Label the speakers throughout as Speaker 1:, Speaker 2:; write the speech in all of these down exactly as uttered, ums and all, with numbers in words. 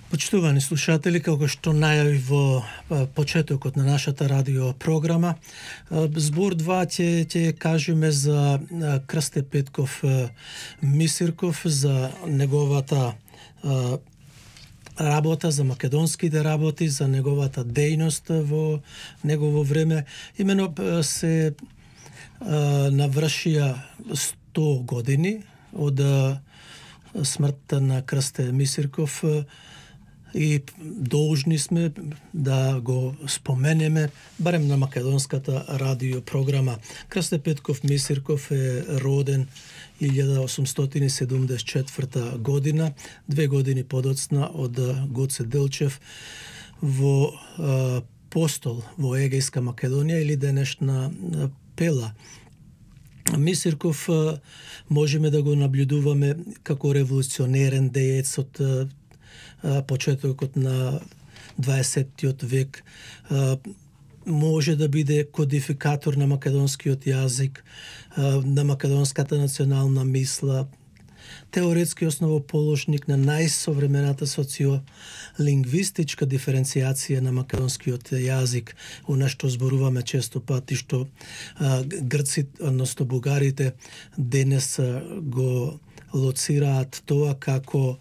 Speaker 1: Почитувани слушатели, како што најави во почетокот на нашата радио програма, збор два ќе ќе кажеме за Крсте Петков Мисирков, за неговата работа, за македонските работи, за неговата дејност во негово време. Имено се навршија сто години од смртта на Крсте Мисирков, и должни сме да го споменеме барем на македонската радио програма. Крсте Петков Мисирков е роден илјада осумстотини седумдесет и четврта година, две години подоцна од Гоце Делчев во а, Постол во Егејска Македонија или денешна Пела. Мисирков а, можеме да го наблюдуваме како револуционерен деец од почетокот на дваесеттиот век, може да биде кодификатор на македонскиот јазик, на македонската национална мисла, теоретски основоположник на најсовремената социолингвистичка диференцијација на македонскиот јазик, она што зборуваме често пати, што грците, односно бугарите, денес го лоцираат тоа како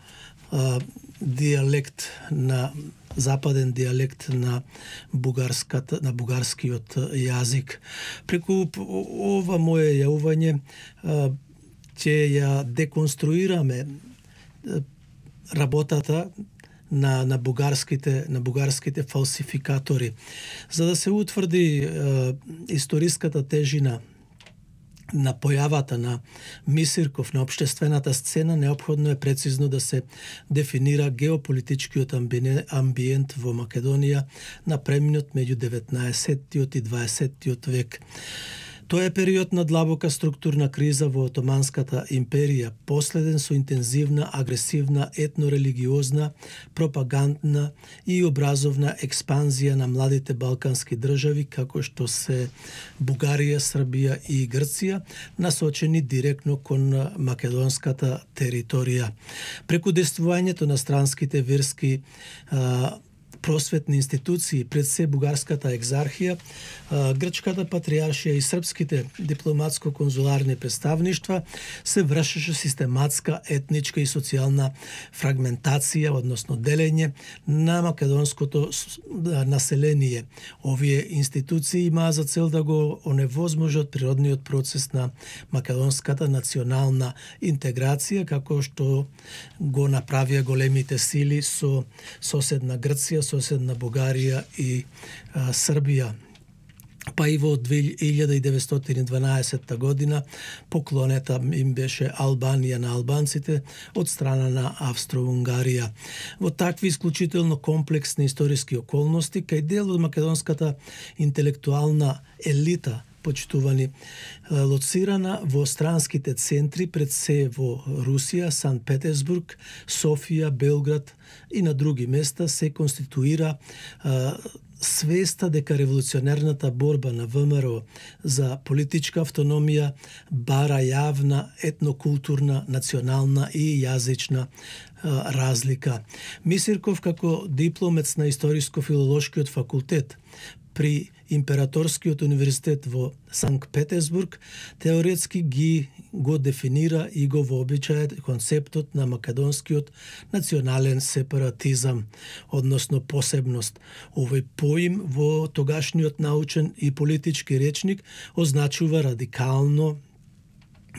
Speaker 1: диалект на западен диалект на бугарската на бугарскиот јазик. Преку ова мое јавување ќе ја деконструираме работата на на бугарските на бугарските фалсификатори, за да се утврди е, историската тежина на појавата на Мисирков на општествената сцена. Неопходно е прецизно да се дефинира геополитичкиот амбиент во Македонија на преминот меѓу деветнаесеттиот и дваесеттиот век. Тоа е период на длабока структурна криза во Отоманската империја, последен со интензивна, агресивна, етнорелигиозна, пропагандна и образовна експанзија на младите балкански држави, како што се Бугарија, Србија и Грција, насочени директно кон македонската територија. Преку действувањето на странските верски а, просветни институции, пред се бугарската екзархија, грчката патриаршија и српските дипломатско-конзуларни представништва, се вршеше систематска етничка и социјална фрагментација, односно делење на македонското население. Овие институции имаа за цел да го оневозможат природниот процес на македонската национална интеграција, како што го направија големите сили со соседна Грција, соседна Бугарија и а, Србија. Па и во две илјади деветстотини и дванаесетта година поклонета им беше Албанија на албанците од страна на Австро-Унгарија. Во такви исклучително комплексни историски околности, кај дел од македонската интелектуална елита, почитувани, лоцирана во странските центри, пред се во Русија, Санкт Петерсбург, Софија, Белград и на други места, се конституира а, свеста дека револуционерната борба на ВМРО за политичка автономија бара јавна, етнокултурна, национална и јазична а, разлика. Мисирков, како дипломец на Историско-филолошкиот факултет при Императорскиот универзитет во Санкт Петерсбург, теоретски ги го дефинира и го вообичаje концептот на македонскиот национален сепаратизам, односно посебност. Овој поим во тогашниот научен и политички речник означува радикално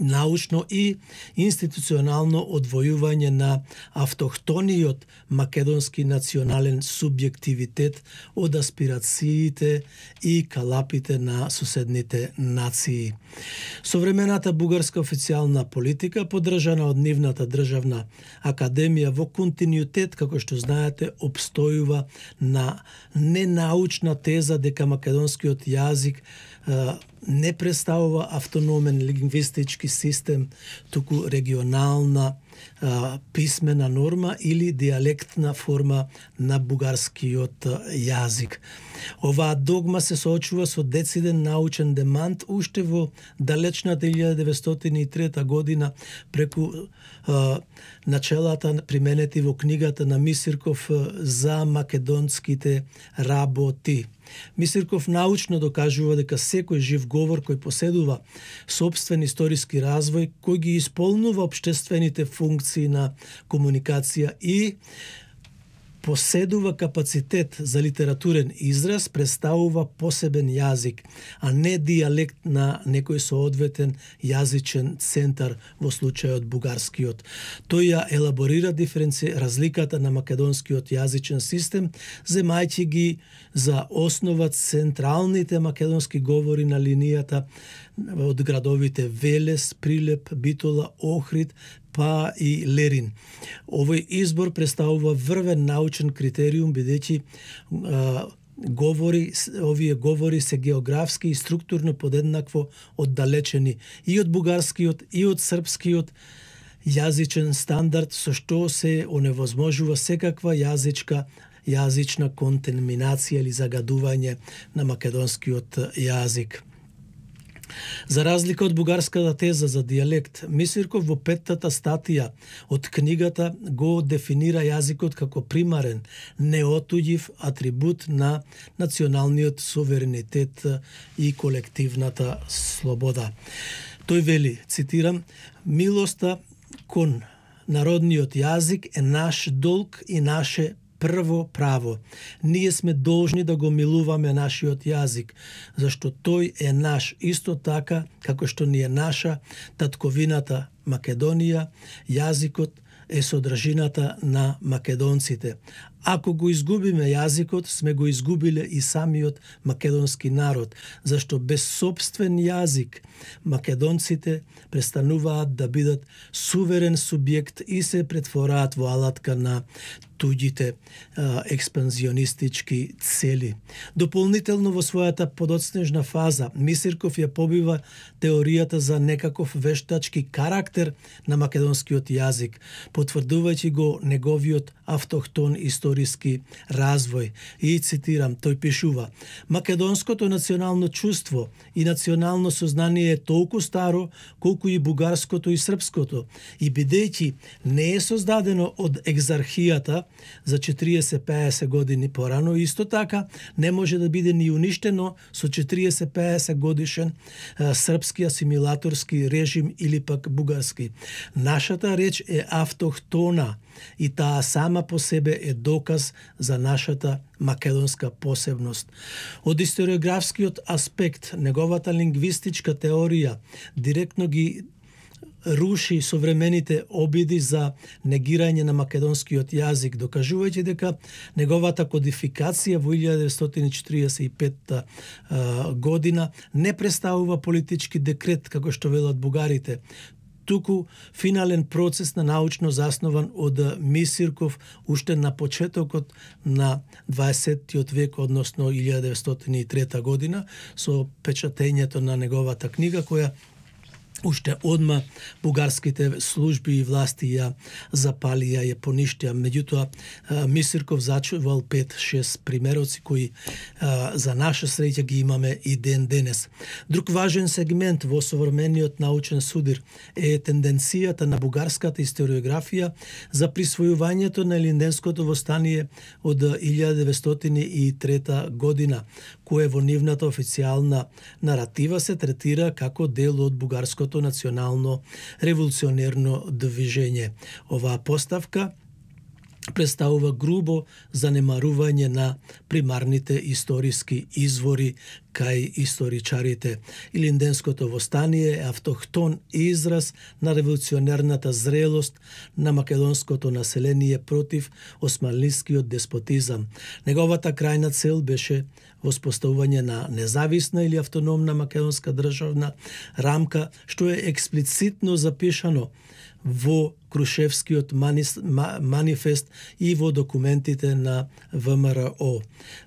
Speaker 1: научно и институционално одвојување на автохтониот македонски национален субјективитет од аспирациите и калапите на соседните нации. Современата бугарска официјална политика, поддржана од нивната државна академија во континуитет, како што знаете, обстојува на ненаучна теза дека македонскиот јазик не представува автономен лингвистички систем, туку регионална а, писмена норма или диалектна форма на бугарскиот јазик. Оваа догма се соочува со дециден научен демант уште во далечната илјада деветстотини и трета година преку а, начелата применети во книгата на Мисирков за македонските работи. Мисирков научно докажува дека секој жив говор кој поседува сопствен историски развој, кој ги исполнува општествените функции на комуникација и поседува капацитет за литературен израз, представува посебен јазик, а не дијалект на некој соодветен јазичен центар, во случајот бугарскиот. Тој ја елаборира диференци разликата на македонскиот јазичен систем, земајќи ги за основа централните македонски говори на линијата од градовите Велес, Прилеп, Битола, Охрид, па и Лерин. Овој избор представува врвен научен критериум, бидејќи говори, овие говори се географски и структурно подеднакво оддалечени и од бугарскиот и од српскиот јазичен стандард, со што се оневозможува секаква јазичка јазична контаминација или загадување на македонскиот јазик. За разлика од бугарската теза за дијалект, Мисирков во петтата статија од книгата го дефинира јазикот како примарен, неотуѓив атрибут на националниот суверенитет и колективната слобода. Тој вели, цитирам, милоста кон народниот јазик е наш долг и наше прво право. Ние сме должни да го милуваме нашиот јазик, зашто тој е наш исто така како што ни е наша татковината Македонија, јазикот е содржината на македонците. Ако го изгубиме јазикот, сме го изгубиле и самиот македонски народ, зашто без собствен јазик македонците престануваат да бидат суверен субјект и се претвораат во алатка на туѓите а, експанзионистички цели. Дополнително во својата подоцнежна фаза, Мисирков ја побива теоријата за некаков вештачки карактер на македонскиот јазик, потврдувајќи го неговиот автохтон историски развој. И цитирам, тој пишува: македонското национално чувство и национално сознание е толку старо колку и бугарското и српското, и бидејќи не е создадено од екзархијата за четириесет-пеесет години порано, исто така не може да биде ни уништено со четириесет-пеесет годишен а, српски асимилаторски режим или пак бугарски. Нашата реч е автохтона и таа сама по себе е доказ за нашата македонска посебност. Од историографскиот аспект, неговата лингвистичка теорија директно ги руши современите обиди за негирање на македонскиот јазик, докажувајќи дека неговата кодификација во илјада деветстотини четиридесет и петта година не представува политички декрет, како што велат бугарите, туку финален процес на научно заснован од Мисирков уште на почетокот на дваесеттиот век, односно илјада деветстотини и трета година, со печатењето на неговата книга, која уште одма бугарските служби и власти ја запалија, ја поништија. Меѓутоа, Мисирков зачувал пет-шест примероци кои за наша среќа ги имаме и ден денес. Друг важен сегмент во современиот научен судир е тенденцијата на бугарската историографија за присвојувањето на Илинденското востание од илјада деветстотини и трета година, кое во нивната официјална наратива се третира како дел од бугарското национално револуционерно движење. Оваа поставка представува грубо занемарување на примарните историски извори кај историчарите. Илинденското востание е автохтон израз на револуционерната зрелост на македонското население против османлискиот деспотизам. Неговата крајна цел беше воспоставување на независна или автономна македонска државна рамка, што е експлицитно запишано во Крушевскиот манифест и во документите на ВМРО.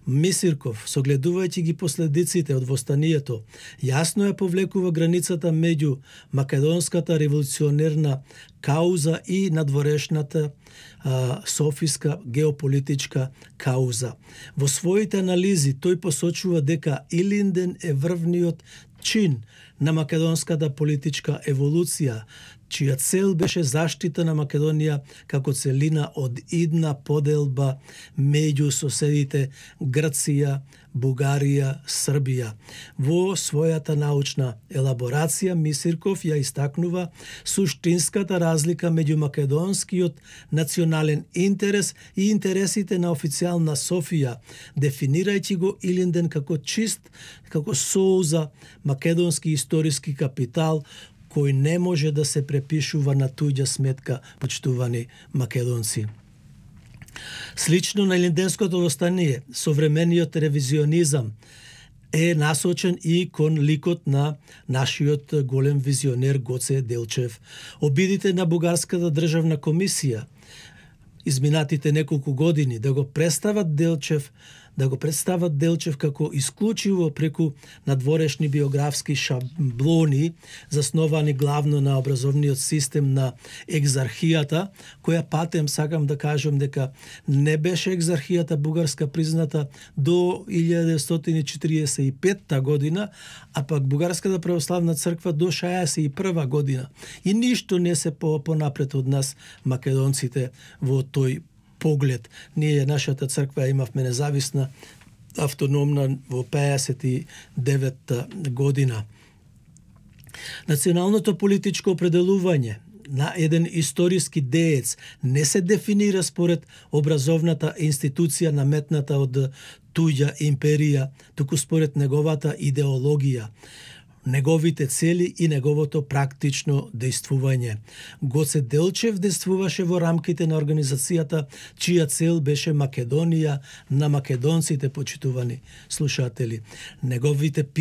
Speaker 1: Мисирков, согледувајќи ги последиците од востанието, јасно ја повлекува границата меѓу македонската револуционерна кауза и надворешната а, софиска геополитичка кауза. Во своите анализи тој посочува дека Илинден е врвниот чин на македонската политичка еволуција, чија цел беше заштита на Македонија како целина од идна поделба меѓу соседите Грција, Бугарија, Србија. Во својата научна елаборација Мисирков ја истакнува суштинската разлика меѓу македонскиот национален интерес и интересите на официјална Софија, дефинирајќи го Илинден како чист, како соуза македонски историски капитал кој не може да се препишува на туѓа сметка, почитувани македонци. Слично на Илинденското востание, современиот ревизионизам е насочен и кон ликот на нашиот голем визионер Гоце Делчев. Обидите на Бугарската државна комисија изминатите неколку години да го представат Делчев да го представат Делчев како исклучиво преку надворешни биографски шаблони, засновани главно на образовниот систем на екзархијата, која патем сакам да кажам дека не беше екзархијата бугарска призната до илјада деветстотини и четиридесет и петта година, а пак Бугарската православна црква до шеесет и прва година. И ништо не се по понапред од нас македонците во тој поглед. Ние, нашата црква, имавме независна, автономна во пеесет и девета година. Националното политичко определување на еден историски деец не се дефинира според образовната институција наметната од туѓа империја, туку според неговата идеологија, неговите цели и неговото практично дејствување. Гоце Делчев дејствуваше во рамките на организацијата чија цел беше Македонија на македонците, почитувани слушатели. Неговите писма